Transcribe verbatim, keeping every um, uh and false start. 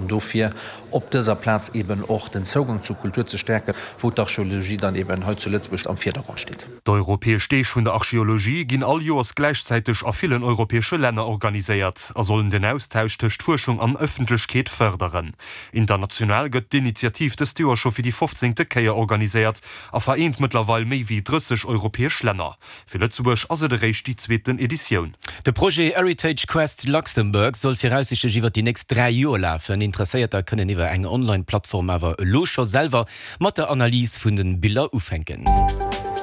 dofir op dëser Plaz eben och den Zougang zur Kultur ze stäerken, wou d'Archeologie dann eben hei zu Lëtzebuerg am Virdergrond steet. D'Europäesch Deeg vun der Archeologie ginn all Joers gläichzäiteg a villen europäesche Länner organiséiert a sollen den Austausch tëscht Fuerschung an Ëffentlechkeet fërderen. International gëtt d'Initiativ dëst Joer scho fir déi fofzéngte Kéier organiséiert a vereent mëttlerweil méi wéi drësseg europäesch Länner. Fir Lëtzebuerg ass et eréischt déi zweeten Editioun. De Projet Heritage Quest Luxembourg soll viraussiichtlech iwwer déi nächst dräi Joer lafen. Interesséierter kënnen iwwer eng Online-Plattform awer elo scho selwer mat der Analys vun de Biller ufänken.